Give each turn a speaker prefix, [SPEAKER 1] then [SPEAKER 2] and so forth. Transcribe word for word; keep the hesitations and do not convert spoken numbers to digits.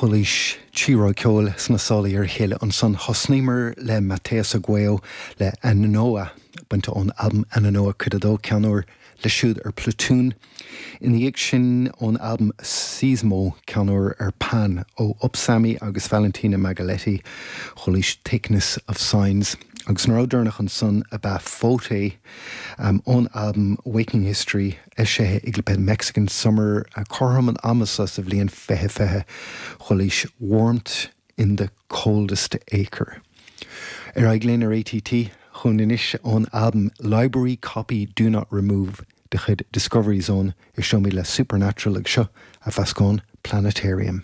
[SPEAKER 1] Chualaís trí rogha ceoil sna sála ar a chéile ansan thosnaíomar le Mateus Arguello le Ananoa bainte ón albam Ananoa cuid a dó ceann úr leis siúd ar Platoon. Ina dhiaidh sin ón albam Sismo ceann úr ar Pan ó Upsammy agus Valentina Magaletti chualaís Thickness of Signs. Agus an rogha deireanach ansan ab ea Photay um, ón albam Waking History eisithe ag le Mexican Summer uh, cothrom an ama sa sa bhliain fiche fiche chualaís Warmth in the Coldest Acre. Ar aghaidh linn ar ATT chun anois ón albam Library Copy Do Not Remove de chuid Discovery Zone éisteoimid le Supernatural ag seo a mheascán Planetarium.